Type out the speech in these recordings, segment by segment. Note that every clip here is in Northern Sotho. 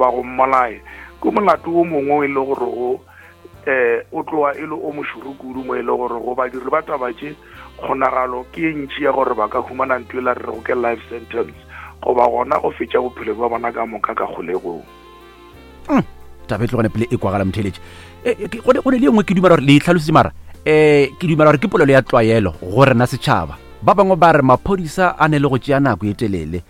goba go mmolaya, ke molato wo mongwe e le gore go um o tloga e le o mošoro kudu mo e le gore go badiri ba taba tše kgonagalo ke e ntši ya gore ba ka humana ntho e la re rego ke life sentence goba gona go fetša bophelo bja bona ka moka ka kgolegong. Hmm, taba e tlogane pele e kwagala motheletše e, e, go ne le e nngwe ke dumela gore le itlhalositse mara um ke dumela gore ke polelo ya tlwaelo go rena setšhaba ba bangwe ba re maphodisa a ne le go tšea nako e telele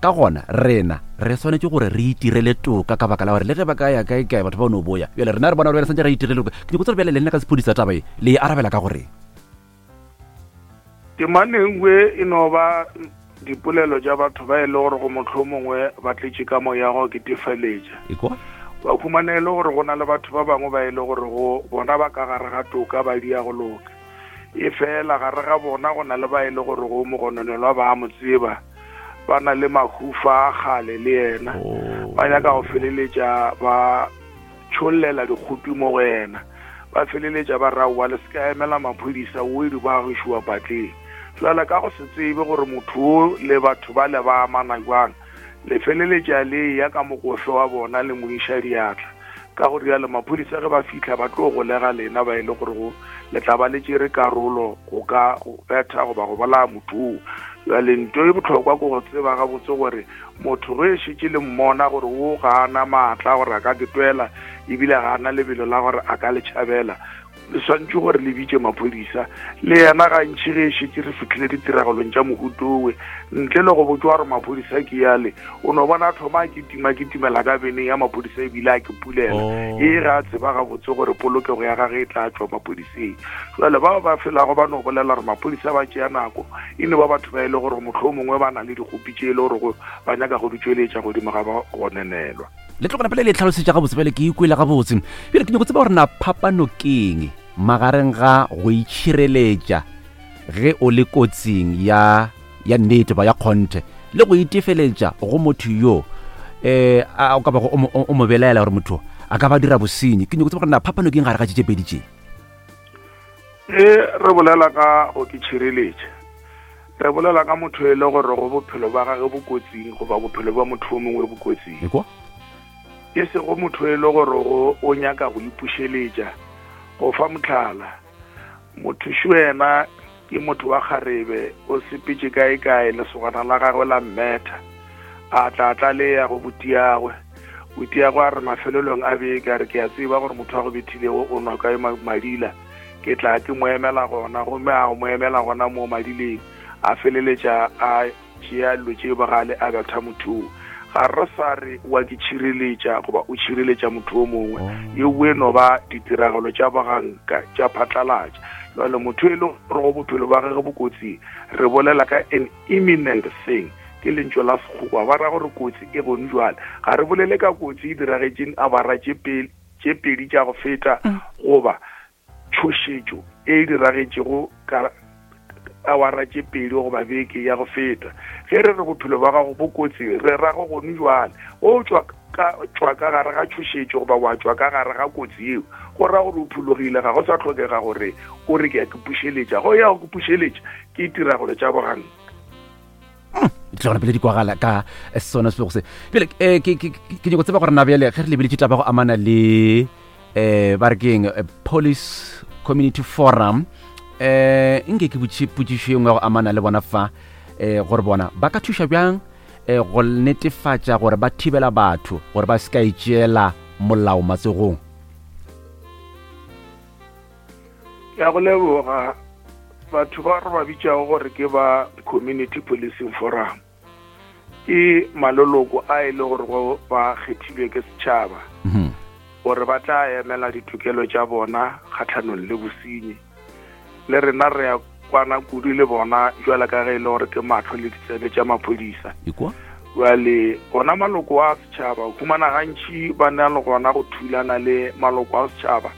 ka gona rena re swanetše gore re itirele toka ka baka la gore le ge ba ka ya kae kae batho ba o no boya bjale rena re bona gore santse re itirele toka ke nyako tsere bjale le nna ka sephodisa taba e le e arabela ka goreng Temana e nngwe e no ba dipolelo tša batho ba e le gore go mohlomongwe ba tletše ka moya go ketefaletša. Ekwa. Ba humana e le gore go na le batho ba bangwe ba e le gore go bona ba ka gare ga toka ba dia go loka. E fela gare ga bona go na le ba e le gore go mogononelwa ba mo tseba ba na le mahufa a kgale le yena. Oh. Ba nyaka go feleletša ba tšhollela dikgopi mo go yena. Ba feleletša ba re, Aowa, le se ka emela maphodisa, o e ba gešoa patleng. Jwale ka go se tsebe gore motho o le batho bale ba amana jwang, le feleletša le eya ka mokofe wa bona le mo iša diatla. Ka go rialo, maphodisa ge ba fihla ba tlo golega lena ba e le gorego le tla ba le tšere karolo go ka go betha goba go bolaya motho oo. Jwale nto e bohlokwa ke go tseba gabotse gore Motho ge e šetše le mmona gore wo ga a na maatla a gore a ka ke twela ebile ga a na lebelo la gore a ka le tšhabela, le swantše gore le bitše maphodisa. Le yena gantši ge e šetše re fihlile ditiragalong tša mohuta owe, ntle le go botšwa gore maphodisa ke yale, o no bona a thoma a kitima kitimela ka beneng ya maphodisa ebile a ke pulela Oh. e ge a tseba gabotse gore polokego ya gage e tla tšwa maphodiseng. Jale bao ba felago ba no bolela gore maphodisa ba tšea nako e no ba batho ba e le gore mohlomongwe ba na le dikgopi tše e le gore ba nyaka go di tšweletša godimo ga ba gonenelwa. Le tlogela pele le tlhalosetša gabotse bjale ke ikwele gabotse. Bjale ke nyako tseba gore na phapano keng magareng ga go itšhireletša ge o le kotsing ya ya nnete ba ya kgonthe le go itefeletša go motho yo eh a o ka bago o mo belaela gore motho a ka ba dira bosenyi. Ke nyako tseba gore na phapano keng gare ga tše tše pedi tše. Ge re bolela ka go ke tšhireletša, re bolela ka motho e le gore go bophelo ba gage bo kotsing goba bophelo bja motho o mongwe bo kotsing. Ekwa? E sego motho e le gore go o nyaka go ipušeletša. Go fa mohlala, motho šo yena ke motho wa kgarebe, o sepetše kae-kae, lesogana la gagwe la mmetha, a tla a tlaleya go butiagwe. Butiagwe a re mafelelong a beke, a re, Ke a tseba gore motho a go bethilego o nwa kae madila, ke tla ke mo emela gona. Gomme a mo emela gona moo madileng, a feleletša a tšea dilo tše bogale a betha motho oo. Ga re sa re wa ke tšhireletša goba o tšhireletša motho o mongwe, yeo e no ba ditiragalo tša boganka tša phatlalatša. Jwale motho e le gore go bophelo ba gage bo kotsing, re bolela ka an imminent thing, ke lentšu la Sekgowa, ba ra gore kotsi e gone jwale. Ga re bolele ka kotsi e diragetšeng awara tše pedi tša go feta goba tšhošetšo e diragetšego ka awara tše pedi goba beke ya go feta. Ge re re bophelo bja gago bo kotsing, re ra go gone jwale. O tšwa ka tšwa ka gare ga tšhošetšo goba wa tšwa ka gare ga kotsi yeo, go ra gore o phologile, ga go sa hlokega gore o re ke ya ke pušeletša. Go ya go ke pušeletša ke tiragalo tša boganka. Hmm, tlogela pele di kwagala ka sona sebego se. Bjale eh, ke nyako tseba gore na bjale ge re lebeletše taba go amana le eh ba re keng eh, police community forum eh nke ke botše potšišo e nngwe ya go amana le bona fa eh gore bona ba ka thuša bjang eh go netefatša gore ba thibela batho gore ba se ka itšeela molao matsogong. Ke a go leboga. Batho ba re ba bitšago gore ke ba community policing forum ke maloloko a e le gore go ba kgethilwe ke setšhaba mhm. gore ba tla emela ditokelo tša bona kgatlhanong le bosenyi. Le rena re ya kwana kudu le bona jwale ka ge e le gore ke mahlo le ditsebe tša maphodisa. Jwale ona maloko a setšhaba o humana gantši ba na le gona go thulana le maloko a setšhaba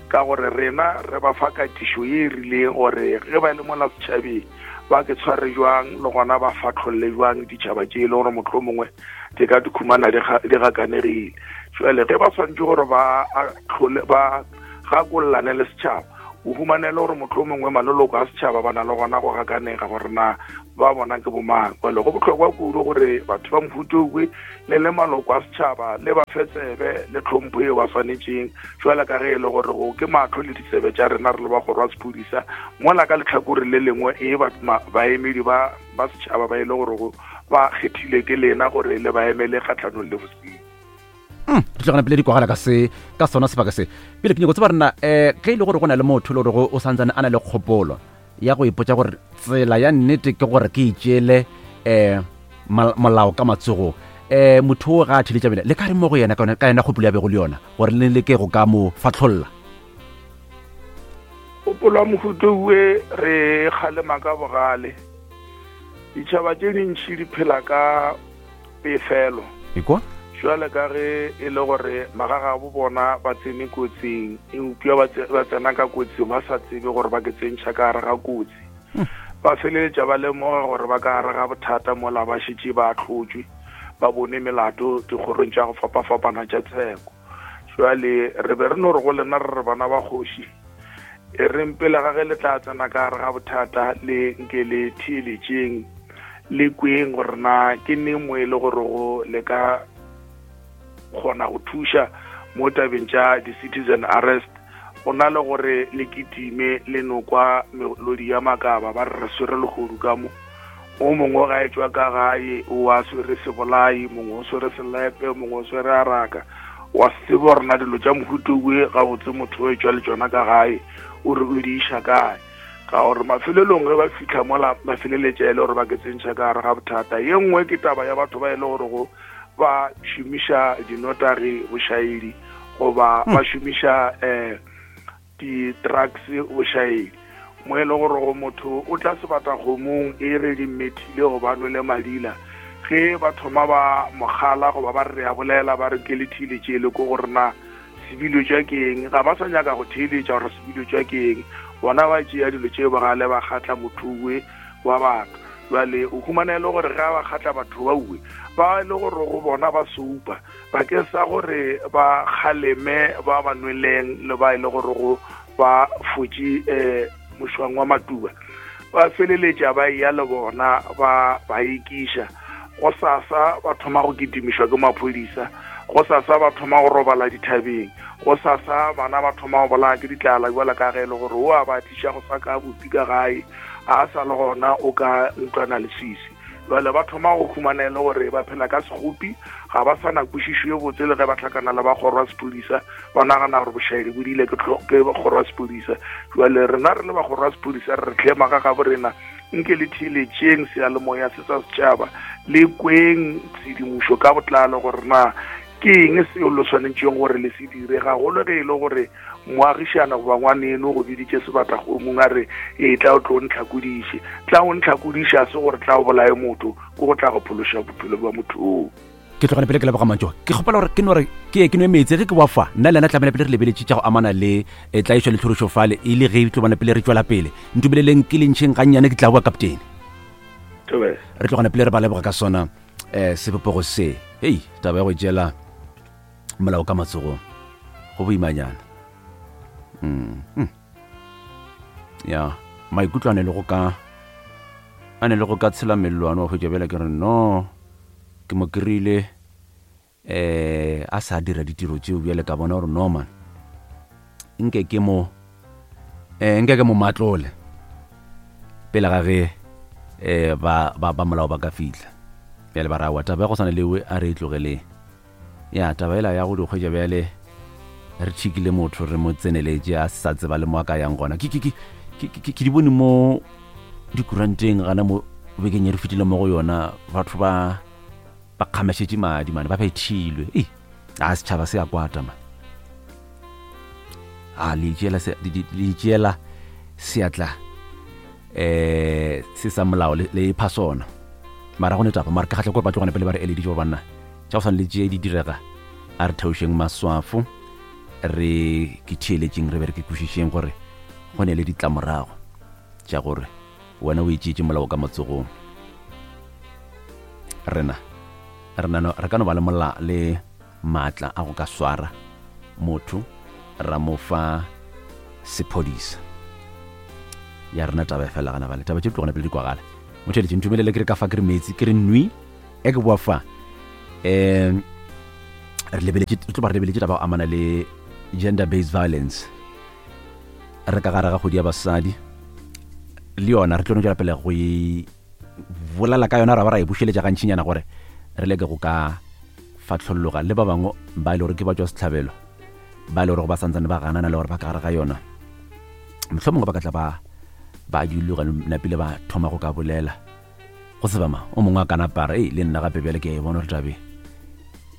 ka gore rena re ba fa katišo ye e rileng gore ge ba le mola setšhabeng ba ke tshware jwang le gona ba fatlholle jwang ditšhaba tše e le gore mohlomongwe di ka di khumana di gakanegile. Jwale ge ba swanetše gore ba tlhole ba gakollane le setšhaba, o humanele gore mohlomongwe maloloko a setšhaba ba na le gona go gakanega gore na Ba bona ke bomang. Bjale go bohlokwa kudu gore batho ba mohuta owe le le maloko a setšhaba le ba fe tsebe le tlhompho yeo ba swanetšeng, bjalo ka ge e le gore go ke mahlo le ditsebe tša rena re le ba kgoro ya sephodisa, mola ka lehlakore le lengwe e ba baemedi ba ba setšhaba ba e le gore go ba kgethile ke lena gore le ba emele kgahlanong le bosenyi. Mm, di tlogana pele di kwagala ka se ka sona sebaka se. Pele ke nyako tseba rena um ge e le gore go na le motho e le gore o santsane a na le kgopolo ya go ipotša gore tsela ya nnete ke gore ke itšeele um molao ka matsogong, um motho o ga a theletša bele le ka re mo go yena ka yona kgopolo ya bego le yona gore le leke go ka mo fatlholla? Kgopolo ya mohuta owe re kgalema ka bogale. Ditšhaba tše dintši di phela ka pefelo. Ekwa? Jwale ka ge e le gore magagabo bona ba tsene kotsing, eupša ba tsena ka kotsing ba sa tsebe gore ba ke tsentšha ka gare ga kotsi. Ba feleletša ba lemoga gore ba ka gare ga bothata mola ba šetše ba ahlotšwe, ba bone melato dikgorong tša go fapafapana tša tsheko. Jwale re be re no re go lena re re bana ba kgoši, E reng pele ga ge le tla tsena ka gare ga bothata le nke le theeletšeng, le kweng gore na ke neng mo e le gore go le ka kgona go thuša mo tabeng tša di-citizen arrest, go na le gore le kitime le no kwa melodi ya makaba ba re re swere lehodu ka mo. O mongwe ga etšwa ka gae o a swere sebolai, mongwe o swere selepe, mongwe o swere araka. Wa se tsebe gore na dilo tša mohuta owe gabotse motho o etšwa le tšona ka gae o re o di iša kae. Ka gore mafelelong ge ba fihla mola ba feleletša e le gore ba ke tsentšha ka gare ga bothata. Ye nngwe ke taba ya batho ba e le gore go ba šomiša dinotagi bošaedi goba ba šomiša um di-drugs bošaedi, mo e le gore go motho o tla sebatakgomong e re di mmethile goba nwele madila. Ge ba thoma ba mogala goba ba re re a bolela ba re ke le theeletše le ko gore na sebilo tša ke eng, ga ba sa nyaka go theeletša gore sebilo tša ke eng, bona ba tšea dilo tše bogale ba kgatla motho we wa batho. Bjale o humana e le gore ge ba kgatla batho ba uwe ba e le gore go bona ba soupa bakeng sa gore ba kgaleme ba ba nweleng le ba e le gore go ba fotše um mošwang wa matuba, ba feleletša ba eya le bona ba ba ekiša. Go sasa ba thoma go kitimišwa ke maphodisa, go sasa ba thoma go robala dithabeng, go sasa bana ba thoma go bolaya ke ditlala bjala ka ge e le gore o a ba tliša go sa ka bupi ka gae, a sa le gona o ka ntlwana leswiswi. Bjale ba thoma go humana e le gore ba phela ka sekgopi, ga ba sa na kwešišo ye botse le ge ba hlakana le ba kgoro ya sephodisa, ba nagana gore bošaedi bo diile ke kgoro ya sephodisa. Bjale rena re le ba kgoro ya sephodisa re re hle magagabo rena, nke le theeletšeng seyalemoya se sa setšhaba, le kweng tshedimošo ka botlalo gore na ke eng seo le swanetšeng gore le se dire, gagolo ge e le gore moagišana goba ngwaneno go biditše sebatakgomong a re, Etla o tlo ntlhakodiše. Tla o ntlhakodiše a se gore tla o bolaye motho, ke go tla go phološa bophelo bja motho oo. Ke tlogane pele ke leboga mantšu. Ke kgopela gore ke no re ke ye ke nwe meetse ge ke wa fa. Nna le yena tlamehile pele re lebeletše tša go amana le eh, tlaišo le tlhorišo fale e le ge e tlo bona pele re tšwela pele. Ntumeleleng ke le ntšheng gannyane ke tla boa kaptene. Thobela. Re tlogane pele re ba leboga ka sona eh sebopego se. Hei, taba ya go itšeela molao ka matsogong go boimanyana. Mm. Mm. Ya, maikutlo a ne le go ka a ne le go ka tshela mellwane wa hwetša bjale ke re no ke mo kry-ile eh a sa dira ditiro tšeo bjale ka bona gore no man nke ke mo eh nke ke mo matlole pele ga ge eh ba ba ba molao ba ka fihla bjale ba ra wa taba ya go swana le we a re e tlogeleng Ya, taba yela ya go di hwetša bjale re tšhikile motho re mo tseneletše a sa tseba le mo a ka yang gona. Ke, ke, ke, ke, ke, ke di bone mo dikuranteng gana mo bekeng ye re fetile mo go yona, batho ba ba kgamešetše madi mane, ba bethilwe. Ei, a setšhaba se a kwata man. A le itšeela se, le itšeela seatla eh se sa molao le, le ipha sona. Mara go ne taba, mara ke kgahla gore ba tlogane pele ba re eleditše gore banna tša go swana le tše di direga, a re theošeng maswafo, re ke theeletšeng, re be re ke kwešišeng gore go ne le ditlamorago tša gore wena o itšeetše molao ka matsogong. Rena rena re ka no ba le mola le maatla a go ka swara motho ra mo fa sephodisa. Ya rena taba e fela gana bale, taba tše di tlogana pele di kwagala. Motheletši, ntumelele ke re ka fa ke re metsi, ke re nwi, e ke boa fa. Um re lebeletše, re tlo ba re lebeletše taba go amana le gender based violence. Re ka gare ga kgwedi ya basadi, le yona re tlo no tšwela pele go e bolela ka yona, ra ba ra e bušeletša gantšinyana gore re leke go ka fatlholloga le ba bangwe ba e le gore ke ba tšwa sehlabelo, ba e le gore ba santsane ba ganana le gore ba ka gare ga yona. Mohlomongwe ba ka tla ba ba diloga napile ba thoma go ka bolela go tseba ma o mongwe a kana para ei le nna gape bjale ke a e bona gore tabe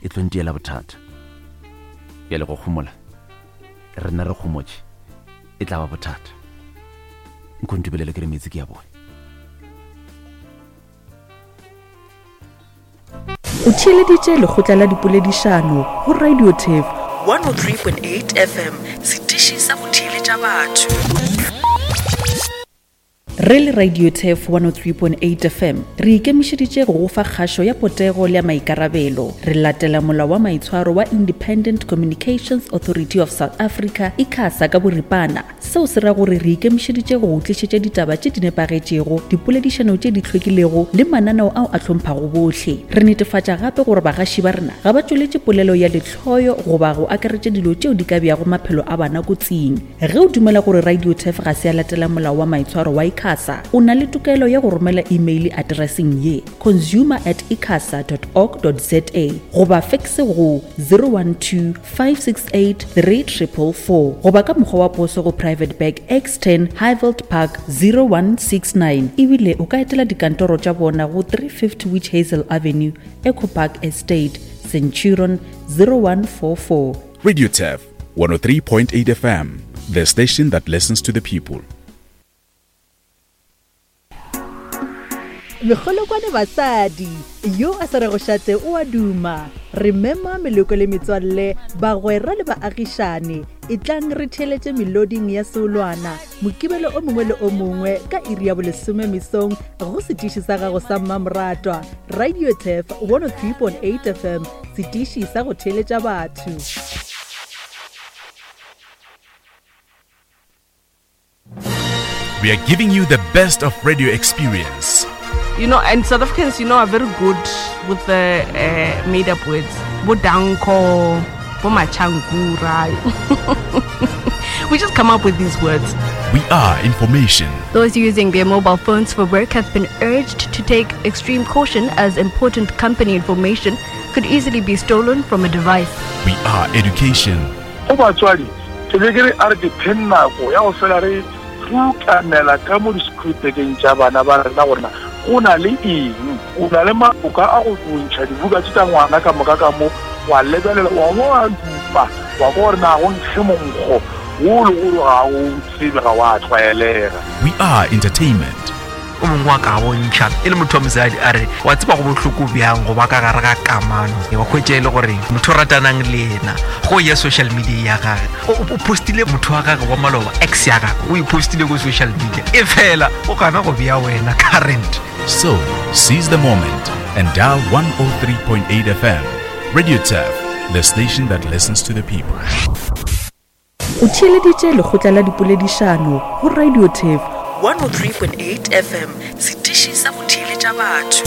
e tlo ntiela bothata. Bjale go kgomola rena re kgomotše e tla ba bothata. Nko ntubelele ke re metsi ke ya bone. O theeleditše lekgotla la dipoledišano go Radio Turf 103.8 FM, setiši sa go theeletša batho. Re le Radio Turf 103.8 FM, re ikemišeditše go go fa kgašo ya potego le ya maikarabelo. Re latela molao wa maitshwaro wa Independent Communications Authority of South Africa, ICASA ka boripana. Seo se ra gore re ikemišeditše go go tlišetša ditaba tše di nepagetšego, dipoledišano tše di hlwekilego le mananeo ao a hlomphago bohle. Re netefatša gape gore bagaši ba rena ga ba tšweletše polelo ya lehloyo goba go akaretša dilo tšeo di ka beago maphelo a bana kotsing. Ge o dumela gore Radio Turf ga se ya latela molao wa maitshwaro wa ICASA, o na le tokelo ya go romela imeile atereseng ye, consumer at icasa dot org dot za goba fekse go 012 568 3444 goba ka mokgwa wa poso go Private Bag X10 Highveld Park 0169. Ebile o ka etela dikantoro tša bona go 350 Witch Hazel Avenue, Echo Park Estate, Centurion 0144. Radio Turf 103.8 FM, the station that listens to the people. Mekgolokwane basadi, yo a sa rego šate o a duma. Re mema meloko le metswalle, bagwera le baagišane. Etlang re theeletše meloding ya seolwana, Mokibelo o mongwe le o mongwe ka iri ya bolesome mesong go setiši sa gago sa mmamoratwa, Radio Turf 103.8 FM, setiši sa go theeletša batho. We are giving you the best of radio experience. You know, and South Africans, you know, are very good with the made up words. Bodanko, Bomachankura. We just come up with these words. We are information. Those using their mobile phones for work have been urged to take extreme caution as important company information could easily be stolen from a device. We are education. Go batswadi, ke be ke re a re dipheng nako ya go fela re rutamela ka mo di-screwpekeng tša bana ba rena gore na go na le eng. O na le maboka a go ntšha dibuka tše tša ngwana ka moka ka mo, wa lebelela, wa bo wa dupa, wa kwa gore na go nkge monkgo wo le gore ga o tsebe, ga wa tlwaelega. We are entertainment. O mongwe wa ka bontšha e le motho wa mosadi a re wa tseba go bohloko bjang go ba ka gare ga kamano wa hwetša e le gore motho o ratanang le yena go ya social media ya gage o postile motho wa gage wa maloba ex ya gage o e postile ko social media e fela o gana go bea wena current. So, seize the moment and dial 103.8 FM. Radio Turf, the station that listens to the people. O theeleditše lekgotla la dipoledišano go Radio Turf 103.8 FM, setiši sa go theeletša batho.